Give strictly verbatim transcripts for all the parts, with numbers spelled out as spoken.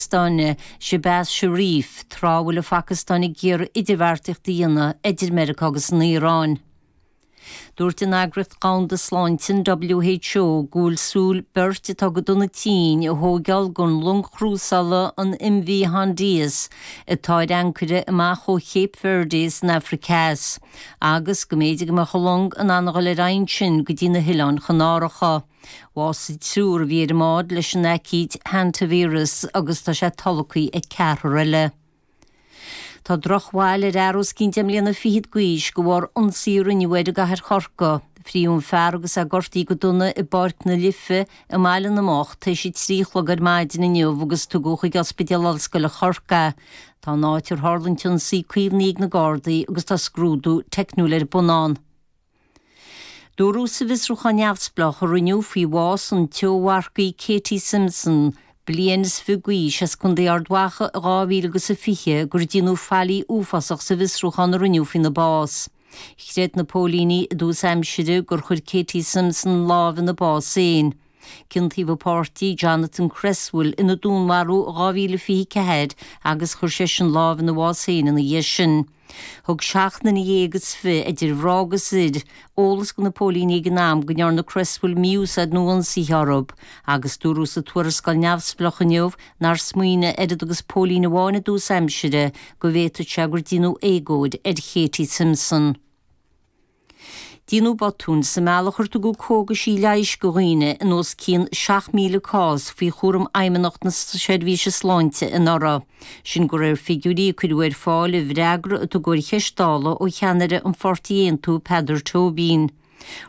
Phacastáine Shehbaz Sharif tráth a bhfuil an Phacastáin ag iarraidh idirbheartaíocht a dhéanamh idir Meiriceá agus an Iaráin. Dúirt an Eagraíocht Dhomhanda Sláinte WHO go bhfuil súil beirt atá go dona tinn a thógáil den long chrúsála an MV Hondius atá ar ancaire amach ó Cape Verde san Afraic Theas, agus go mb'fhéidir go mbeadh an long in ann a dhul ar aghaidh ansin go dtí na hOileáin Chanáracha. Bhásaigh triúr a bhí ar an mbád leis an aicíd hantavirus agus tá sé tolgtha ag ceathrar eile. Tá drochbhail ar fhear os cionn deich mbliana fichead d'aois de bharr ionsaí a rinneadh air i gcathair Chorcaí. Frítheadh an fear agus é gortaithe go dona i bPáirc na Life i mBaile na mBocht tar éis a trí a chlog ar maidin inniu agus tugadh chuig Ospidéal Ollscoile Chorcaí. Tá an áit ar tharla an t-ionsaí caomhnaithe ag na Gardaí agus tá scrúdú teicniúil ar bun ann. Dúradh sa bhfiosrúchán neamhspleách a rinneadh faoi bhás an tseó-mharcaí Katie Simpson bliain is fiche d'aois as Contae Ard Mhacha i dhá mhíle agus a fiche gur déanadh faillí uafásach sa bhfiosrúchán a rinneadh faoina bás. Chreid na póilíní i dtús aimsire gur chuir Katie Simpson lámh ina bás féin. Ciontaíodh a páirtí Jonathan Cresswell ina dúnmharú i dhá mhíle fiche ceathair agus chuir seisean lámh ina bhás féin ina dhiaidh sin. Thug seacht nduine dhéag is fiche idir mhná agus fhir eolas do na póilíní ag an am go ndearna Cresswell mí-úsáid nó ionsaithe orthu, agus dúradh sa tuarascáil neamhspleách inniu nár smaoinigh oiread agus póilín amháin i dtús aimsire go bhféadfadh sé gur déanadh éagóir ar Katie Simpson. Déanadh botúin sa mbealach ar tugadh cógaisí leighis do dhaoine in os cionn seacht míle cás faoi chúram Fheidhmeannacht na Seirbhíse Sláinte anuraidh. Sin de réir figiúirí a cuireadh ar fáil i bhfreagra a tugadh ar cheist Dála ó cheannaire an pháirtí Aontú Peadar Tóibín.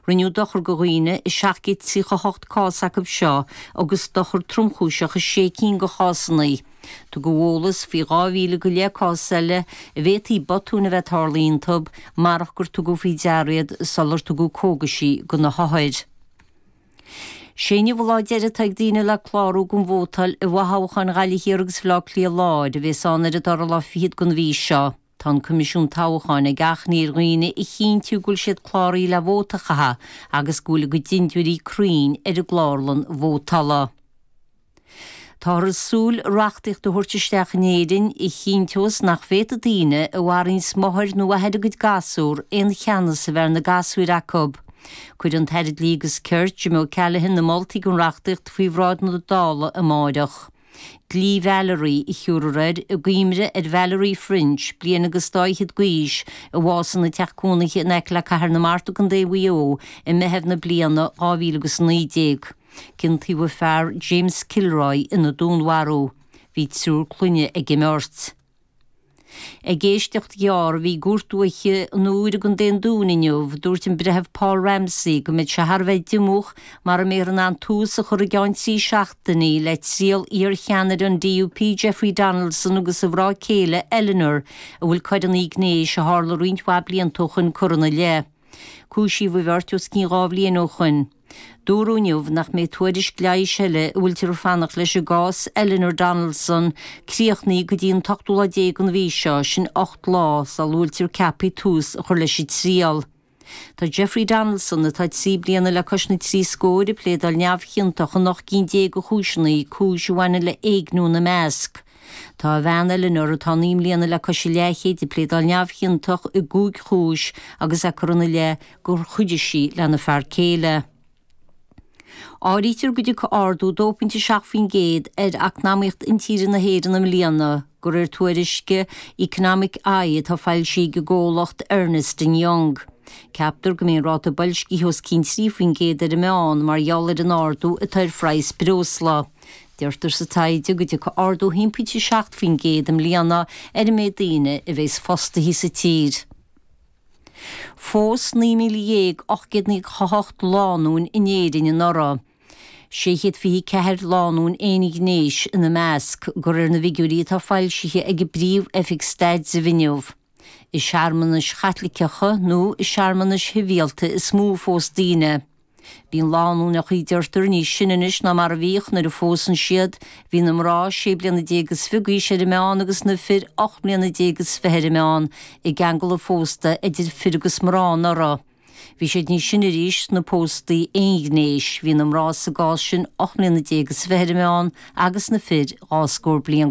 Rinneadh dochar do dhaoine i seacht gcéad tríocha hocht cás acu seo agus dochar tromchúiseach i sé cinn de chásanna. Tugadh eolas faoi dhá mhíle go leith cás eile a bhféadfaí botúin a bheith tarlaithe iontu marach gur tugadh faoi deara iad sular tugadh cógaisí do na hothair. Sé inniu an lá deiridh atá ag daoine le clárú don vótáil i bhfothoghcháin Ghaillimh Thiar agus Bhaile Átha Cliath Láir a bheas ann ar an dara lá fichead den mhí seo. Tá an Coimisiún Toghcháin ag achainí ar dhaoine a chinntiú go bhfuil siad cláraithe le vóta a chaitheamh agus go bhfuil a gcuid dintiúirí cruinn ar an gclárlann vótála. Táthar ag súil reachtaíocht a thabhairt isteach in Éirinn a chinnteos nach bhféadfaidh daoine a mharaíonns máthair nó athair a gcuid gasúr aon cheannas a bheith ar na gasúir acu. Cuirfidh an tAire Dlí agus Cirt Jim O'Callaghan na moltaí don reachtaíocht faoi bhráid na Dála amárach. Dlí Valerie a thiúrfar air i gcuimhne ar Valerie French, bliain agus dá fhichead d'aois, a bhásaigh ina teach cónaithe in aice le Cathair na Mart i gContae Mhaigh Eo i Meitheamh na bliana dhá mhíle agus a naoi déag. Ciontaíodh a fear James Kilroy ina dúnmharú. Bhí triúr clainne ag an mbeirt. Ag éisteacht ghearr a bhí i gCúirt Dúiche an Iúir i gContae an Dúin inniu, dúirt an Breitheamh Paul Ramsey go mbeidh sé thar a bheith diomúch mara mbeifear in ann tús a chur i gceann trí seachtainí le triail iar-cheannaire an DUP Jeffrey Donaldson agus a mhná céile Eleanor a bhfuil coireanna gnéis a tharla roinnt mhaith blianta ó shoin curtha ina leith. Cúisíodh an bheirt os cionn dhá bhliain ó shoin. Dúradh inniu nach mbeidh tuairisc leighis eile a bhfuiltear ag fanacht leis i gcás Eleanor Donaldson críochnaithe go dtí an t-ochtú lá déag den mhí seo, sin ocht lá sula bhfuiltear ceaptha tús a chur leis an triail. Tá Jeffrey Donaldson, atá trí bliana le cois na trí scór, ag pléadáil neamhchiontach in ocht gcinn déag de chúiseanna, cúis a bhaineann le éigniú ina measc. Tá a bhean Eleanor, atá naoi mbliana le cois a leathchéid, ag pléadáil neamhchiontach i gcúig chúis agus é curtha ina leith gur chuidigh sí lena fear céile. Áirítear go dtiocfaidh ardú dó pointe seacht faoin gcéad ar eacnamaíocht intíre na hÉireann i mbliana, de réir tuairisce Economic Eye atá foilsithe ag an gcomhlacht Ernst and Young. Ceaptar go mbeidh an ráta boilscithe os cionn trí faoin gcéad ar an meán mar gheall ar an ardú atá ar phraghas breosla. Deirtear sa taighde go dtiocfaidh ardú haon pointe seacht faoin gcéad i mbliana ar an méid daoine a bheas fostaithe sa tír. Phós naoi míle dhéag ocht gcéad nócha hocht lánúin in Éirinn anuraidh. Sé chéad fiche ceathair lánúin aonghnéis ina measc, de réir na bhfigiúirí atá foilsithe ag an bPríomh-Oifig Staidrimh inniu. I searmanais Chaitliceacha nó i searmanais shibhialta is mó a phós daoine. Bíonn lánúineacha, deirtear, níos sine anois ná mar a bhíodh nuair a phósann siad. Bhí na mná sé bliana déag is fiche d'aois ar an meán agus na fir ocht mbliana déag is fiche ar an meán i gceangal an phósta idir fir agus mná anuraidh. Bhí siad níos sine arís sna póstaí aonghnéis, bhí na mná sa gcás sin ocht mbliana déag is fiche ar an meán agus na fir dhá scór bliain